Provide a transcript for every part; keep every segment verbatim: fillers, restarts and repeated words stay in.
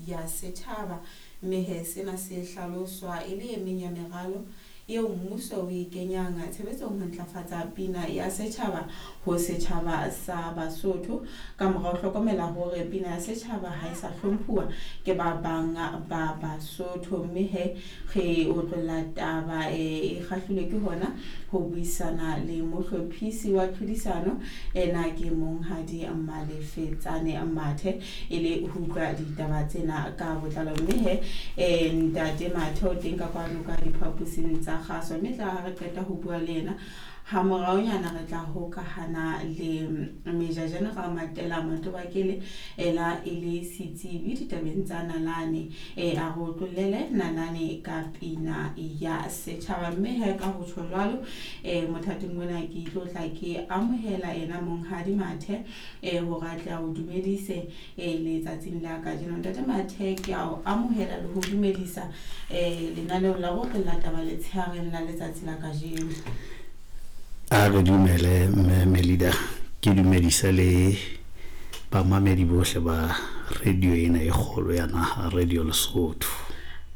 ya Setjhaba. Mme he sena se hlaloswa e le e meng ya meralo eo mmuso o e kenyang tshebetsong ho ntlafatsa pina ya setjhaba ho setjhaba sa Basotho, ka mora ho hlokomela hore pina ya setjhaba ha e sa hlomphuwa ke ba bang ba Basotho. Mme he re otlolla taba e kgahlilwe ke hona ho buisana le mohlophisi wa tlhodisano ena, ke Monghadi Malefetsane Mathe, e le ho utlwa ditaba tsena ka botlalo. Mme he eh ntate Mathe o teng ka kwano ka diphaposing tsa kgaso, mme tla ha re qeta ho bua le yena ha moraonyana re tla hokahana le Major General Matela Matobakele, ela e le setsebi ditabeng tsa nalane, e a re otlollele nalane ka pina ya setjhaba. Mme he ka ho tjho jwalo, eh mothating mona ke tlo tla ke amohela ena Monghadi Mathe, eh hore a tle a o dumedise eh letsatsing la kajeno. Ntate Mathe, ke a o amohela le ho dumedisa eh lenaneong la go taba letsheareng la letsatsi la kajeno. A re dumele mme Melida, ke dumedise le bamamedi bohle ba radio ena e kgolo ya naha, Radio Lesotho.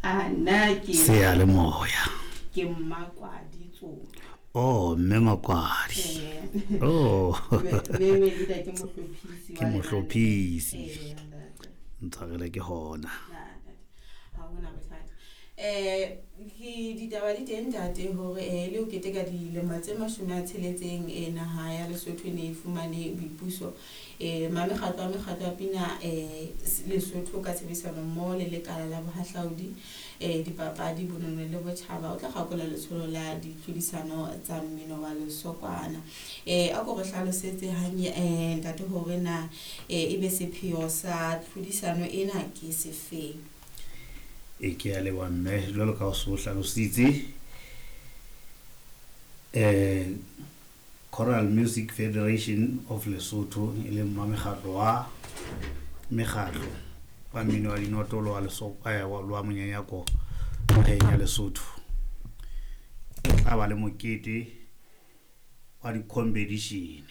A nna ke Seyalemoya. Ke Mmakwadi Tsolo. Oh, mme Makwadi. Eh. Oh. Mme Melida ke mohlophisi Ke wa mohlophisi. lenaneo. Eh, ntate. Ntshwarele ke hona. Na, ntate. Ha hona bothata. Eh ke ditaba di teng ntate hore eh le ho keteka dilemo tse mashome a tsheletseng eh naha ya Lesotho e ne e fumane boipuso, eh mamekgatlo a mekgatlo ya pina eh Lesotho ka tshebedisano mmoho le lekala la bohahlaudi, eh dipapadi, bonono le botjhaba o tla kgakola letsholo la ditlhodisano tsa mmino wa lesokwana. Eh a ko re hlalosetse hanye eh ntate hore na eh ebe sepheo sa tlhodisano ena ke sefeng. E ke a leboha mme, jwalo ka o so hlalositse, eh Choral Music Federation of Lesotho, e leng mamekgatlo wa mekgatlo wa mmino wa dinoto le wa Lesotho, eh, wa wa monyenyako naheng ya Lesotho, e tla ba le mokete wa di-competition.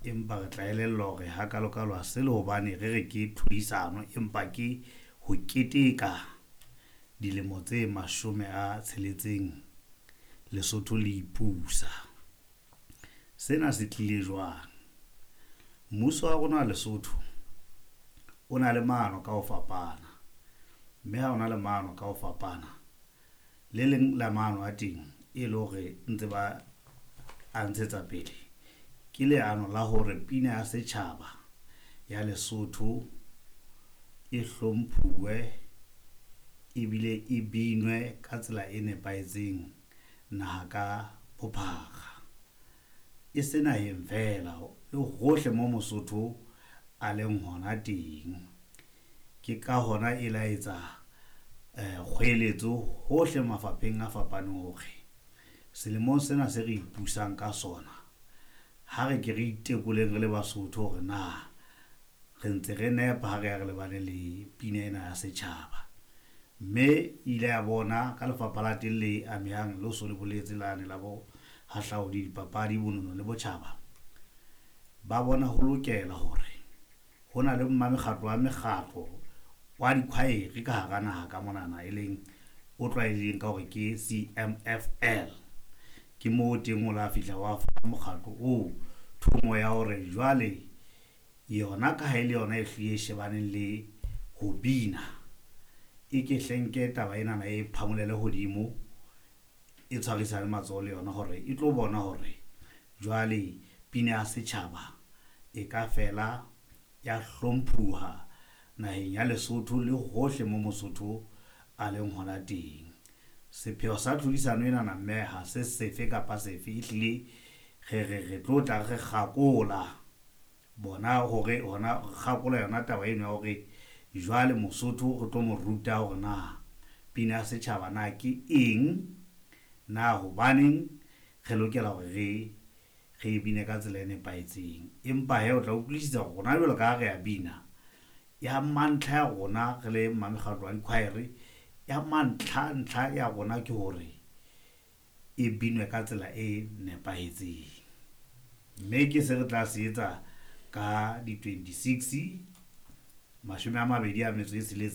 Empa re tla elellwa hore hakalokalo ha se le hobane re re ke tlhodisano, empa ke ho keteka dilemo tse mashome a tsheletseng Lesotho le ipusa. Sena se tlile jwang? Mmuso wa rona wa Lesotho o na le maano ka ho fapana, mme ha o na le maano ka ho fapana, le leng la maano a teng e le hore ntse ba a ntshetsa pele ke leano la hore pina ya setjhaba ya Lesotho e hlomphuwe ebile e binwe ka tsela e nepahetseng naha ka bophara, e se naheng feela, le hohle mo Mosotho a leng hona teng. Ke ka hona e la etsa eh kgoeletso hohle mafapheng a fapaneng hore selemong sena se re ipusang ka sona, ha re ke re itekoleng re le Basotho hore na re ntse re nepa ha re ya re lebane le pina ena ya setjhaba. Mme ile ya bona ka lefapha la teng le amehang le so le boletse lane la bohahlaudi, dipapadi, bonono le botjhaba, ba bona ho lokela hore ho na le mmamekgatlo wa mekgatlo wa dikhwaere ka hara naha ka monana, e leng o tlwaelehileng ka hore ke C M F L. Ke moo teng o la fihla wa fa mokgatlo oo thomo ya hore jwale yona ka ha e le yona e hlile e shebaneng le ho bina, e ke hlenke taba enana e phamolele hodimo, e tshwarisane matsoho le yona hore e tlo bona hore jwale pina ya setjhaba e ka fela ya hlomphuha naheng ya Lesotho le hohle mo Mosotho a leng hona teng. Sepheo sa tlhodisano enana mme ha se sefe kapa sefe, ehlile re re re tlo tla re kgakola bona hore hona re kgakola yona taba eno ya hore jwale Mosotho re tlo mo ruta hore na pina ya setjhaba na ke eng, na hobaneng re lokela hore re re bine ka tsela e nepahetseng. Empa he o tla utlwisisa hore rona jwalo ka ha re a bina, ya mantlha ya rona re le mamekgatlo wa dikhwaere, ya mantlha ntlha ya rona ke hore e binwe ka tsela e nepahetseng. Mme ke se re tla se etsa ka di twenty-six, mashome a mabedi a metso e tsheletseng.